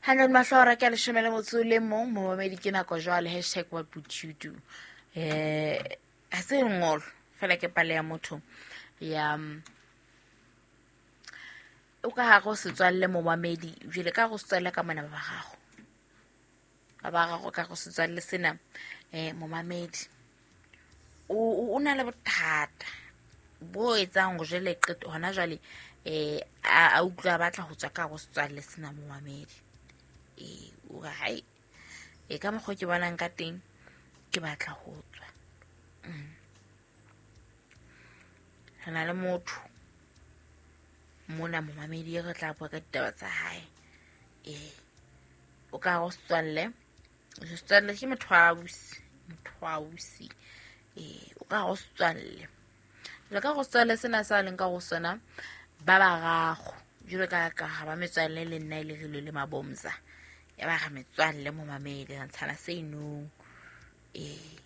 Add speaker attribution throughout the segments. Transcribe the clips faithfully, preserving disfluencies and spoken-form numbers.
Speaker 1: Hundred mahlora ke a leshome le motso le mong momamedi ke nako jwale hashtag what would you do eh ha se lengolo fela ke pale ya motho ya mm, o ka hare ho setswalle momamedi jwale ka go setswalle ka mona ba ba gago ba ba gago ka go setswalle sena eh momamedi o o- o na le bothata bo etsang hore jwale qeto hona jwale eh a a utlwa a batla ho tswa ka go setswalle sena momamedi ee o re hai e ka mokgwa o ke bonang ka teng ke batla ho tswa Mm. Re na le motho mona momamedi e re tla bua ka ditaba tsa hae ee o ka go setswalle setswalle ke motho wa ausi motho wa ausi ee o ka go setswalle jwale ka go setswalle sena sa leng ka go sona ba barago jwalo ka ka ga ba metswalle le nna e le rile le mabomza ya ba ga metswalle momamedi re ntshana se inong ee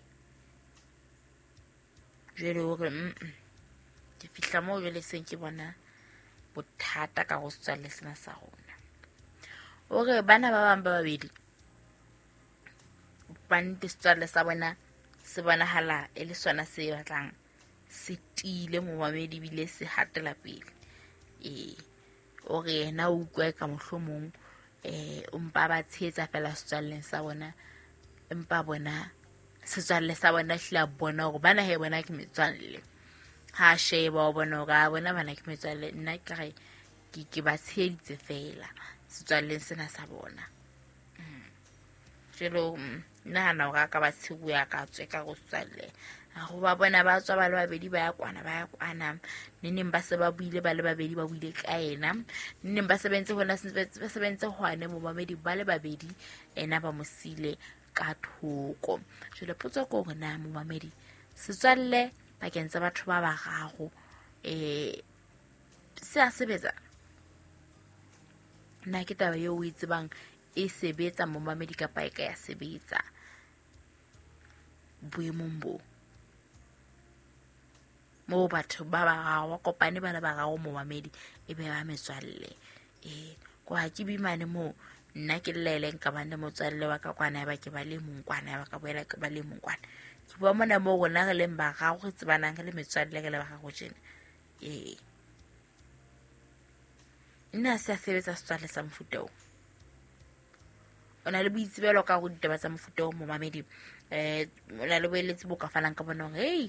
Speaker 1: jwale o re mm ke fihla moo jwale seng ke bona bothata ka go setswalle sena sa rona o re bana ba bang ba babedi ba nnete setswalle sa bona se bonahala e le sona se batlang se tiile momamedi ebile se hatela pele ee o re yena o utlwa ka mohlomong eh o mpa ba tshehetsa fela setswalleng sa bona empa bona setswalle sa bona hlile a bona hore bana he bona ke metswalle ha a sheba o bona hore a bona bana ke metswalle nna ke re ke ke ba tsheheditse fela setswalleng sena sa bona jwalo mm, nahana hore a ka ba tshebuya ka tswe ka go setswalle go ba bona ba tswa ba le babedi ba ya kwana ba ya kwana neneng ba se ba buile ba le babedi ba buile ka ena neneng ba sebentse hona ba sebentse hwane momamedi ba le babedi ena ba mo sile ka thoko jwale potso ke hore na momamedi setswalle pakeng tsa batho ba bararo um se a sebetsa na ke taba eo o e tsebang e sebetsa momamedi kapa e ka ya sebetsa boemong bo moo batho ba bararo ba kopane ba le bararo momamedi e be ba metswalle ee ko ha ke bimane moo nna ke llele nka bang le motswalle wa ka kwana ya ba ke ba le mong kwana ya ba ka boela ke ba le mong kwana ke bua mona moo rona re leng bararo re tsebanang re le metswalle re le bararo tjena ee nna se a sebetsa setswalle sa mofuta oo o na le boitsebelo ka go ditaba tsa mofuta o momamedi um o na le boeletsi bo ka fanang ka bona hore hei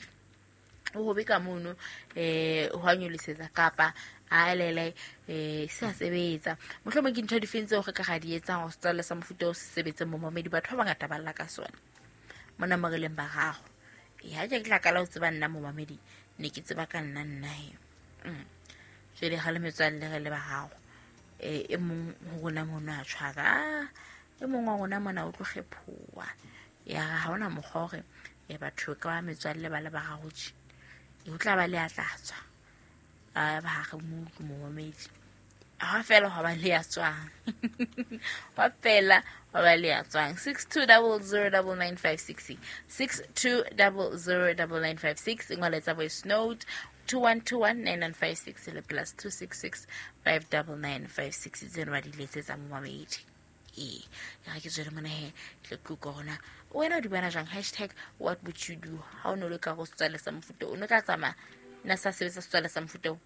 Speaker 1: o hobe ka mono um ho a nyolosetsa kapa a elele um se a sebetsa mohlomong ke ntho difeng tseo re ka ga di etsang hore setswalle sa mofuta o se sebetse momamedi batho ba bangata ba lla ka sona mona mo re leng bararo ee ha ke tla kala ho tseba nna momamedi ne ke tseba ka nna nna he Mm. Jwale ga le metswalle re le bararo um e mong ho rona mono a tshwara "Ah, e mong wa rona mona o tlo kgephoha ya re ha hona mokgwa hore um batho ka ba metswalle ba le bararo tje e ho tla ba le ya tla tswa a ba ha re mo utlwe momamedi ha fela hwa ba le ya tswang hwa fela hwa ba le ya tswang six two double zero double nine five six six two double zero double nine five six ngoletsa voice note two one two one nine nine five six le plus two six six five double nine five six tseno ba di letsetsa momamedi ee ya ga ke tswele mona he tle ke utlwa gona wena o di bona jang hashtag what would you do ha o ne o le ka go setswalle sa mofuta o ne o tla tsamaya nna sa sebetsa setswalle sa mofuta o